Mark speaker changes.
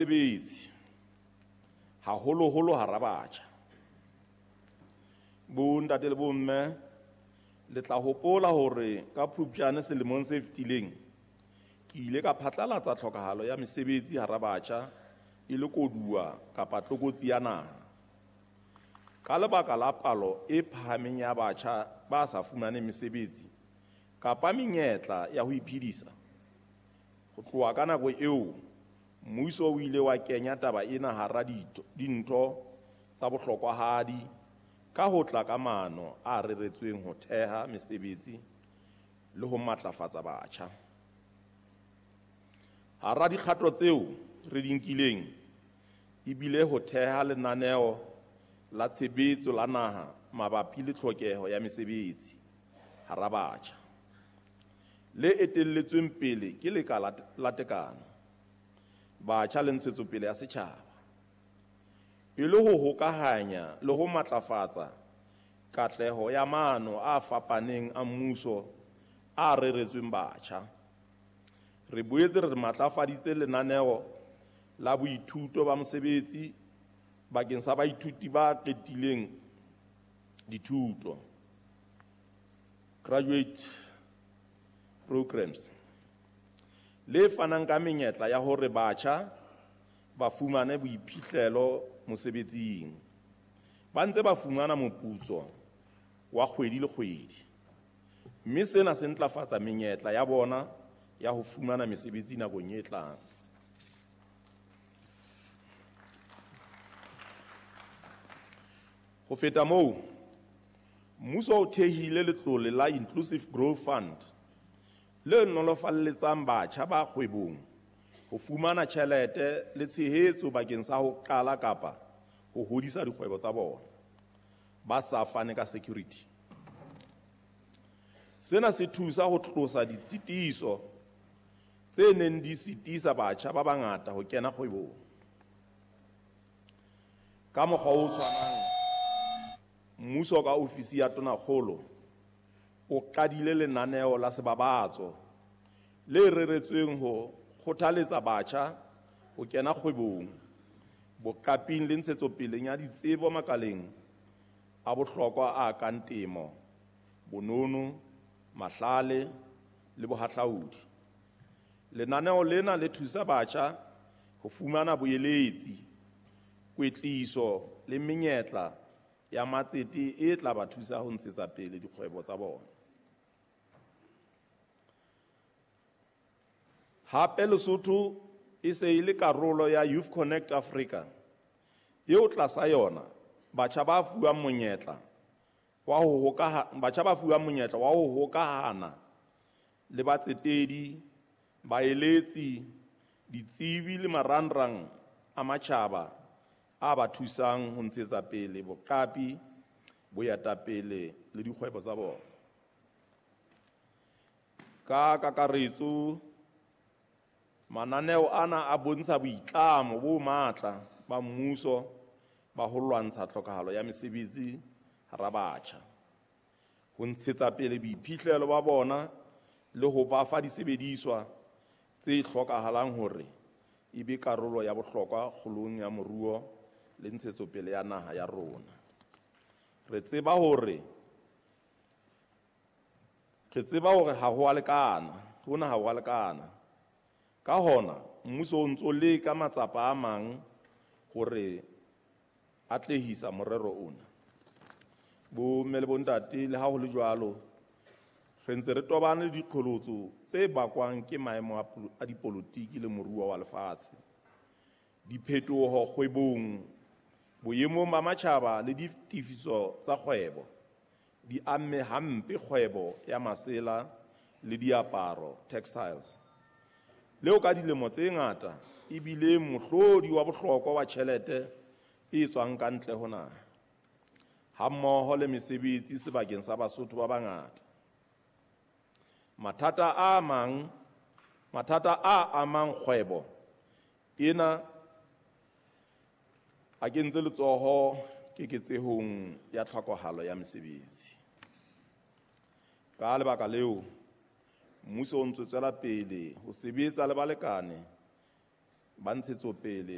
Speaker 1: Mesebetsi, haholoholo hara batjha. Bontate le bomme, le tla hopola hore ka Phupjane selemong se fetileng ke ile ka phatlalatsa tlhokahalo ya mesebetsi hara batjha e le koduwa kapa tlokotsi ya naha. Ka lebaka la palo e phahameng ya batjha ba sa fumaneng mesebetsi kapa menyetla ya ho iphedisa, ho tloha ka nako eo mmuso o ile wa kenya taba ena hara dintho tsa bohlokwahadi ka ho tla ka maano a reretsweng ho theha mesebetsi le ho matlafatsa batjha. Hara dikgato tseo re di nkileng e bile ho theha lenaneo la tshebetso la naha mabapi le tlhokeho ya mesebetsi hara batjha, le etelletsweng pele ke Lekala la Tekano, Batjha le Ntshetsopele ya Setjhaba, e le ho hokahanya le ho matlafatsa katleho ya maano a fapaneng a mmuso a reretsweng batjha. Re boetse re matlafaditse lenaneo la boithuto ba mosebetsi bakeng sa baithuti ba qetileng dithuto, graduate programs, le fanang ka menyetla ya hore batjha ba fumane boiphihlelo mosebetsing, ba ntse ba fumana moputso wa kgwedi le kgwedi, mme sena se ntlafatsa menyetla ya bona ya ho fumana mesebetsi nakong e tlang. Ho feta moo, mmuso o thehile letlole la Inclusive Growth Fund le nolofalletsang batjha ba kgwebong ho fumana tjhelete le tshehetso bakeng sa ho qala kapa ho hodisa dikgwebo tsa bona ba sa fane ka security. Sena se thusa ho tlosa ditshitiso tse neng di sitisa batjha ba bangata ho kena kgwebong. Ka mokgwa o tshwanang, mmuso ka ofisi ya Tonakgolo o qadile lenaneo la sebabatso le reretsweng ho kgothaletsa batjha ho kena kgwebong, boqaping le ntshetsopeleng ya ditsebo makaleng a bohlokwa a kang temo, bonono, mahlale le bohahlaudi. Lenaneo lena le thusa batjha ho fumana boeletsi, kwetliso le menyetla ya matsete e tla ba thusa ho ntshetsa pele dikgwebo tsa bona. Hape Lesotho e se e le karolo ya Youth Connect Africa, eo tlasa yona batjha ba fuwang monyetla wa ho hokahana le batsetedi, baeletsi, ditsebi le marangrang a matjhaba a ba thusang ho ntshetsa pele boqapi, boetapele le dikgwebo tsa bona. Ka kakaretso, mananeo ana a bontsha boitlamo bo matla ba mmuso ba ho lwantsha tlhokahalo ya mesebetsi hara batjha, ho ntshetsa pele boiphihlelo ba bona le ho ba fa disebediswa tse hlokahalang hore e be karolo ya bohlokwa kgolong ya moruo le ntshetsopele ya naha ya rona. Re tseba hore ha ho a lekana, hona ha ho a lekana. Ka hona, mmuso o ntso leka matsapa a mang hore atlehisa morero ona. Bomme le bontate, le ha ho le jwalo, re ntse re tobane le diqholotso tse bakwang ke maemo a dipolotiki le moruo wa lefatshe, diphetoho kgwebong, boemong ba matjhaba le ditefiso tsa kgwebo di amme hampe kgwebo ya masela le diaparo, textiles, leo ka dilemo tse ngata e bile mohlodi wa bohlokwa wa tjhelete e tswang ka ntle ho naha, hammoho le mesebetsi sebakeng sa Basotho ba bangata. Mathata a amang kgwebo ena a kentse letsoho keketsehong ya tlhokahalo ya mesebetsi. Ka lebaka leo, mmuso o ntse tswela pele ho sebetsa le balekane ba ntshetsopele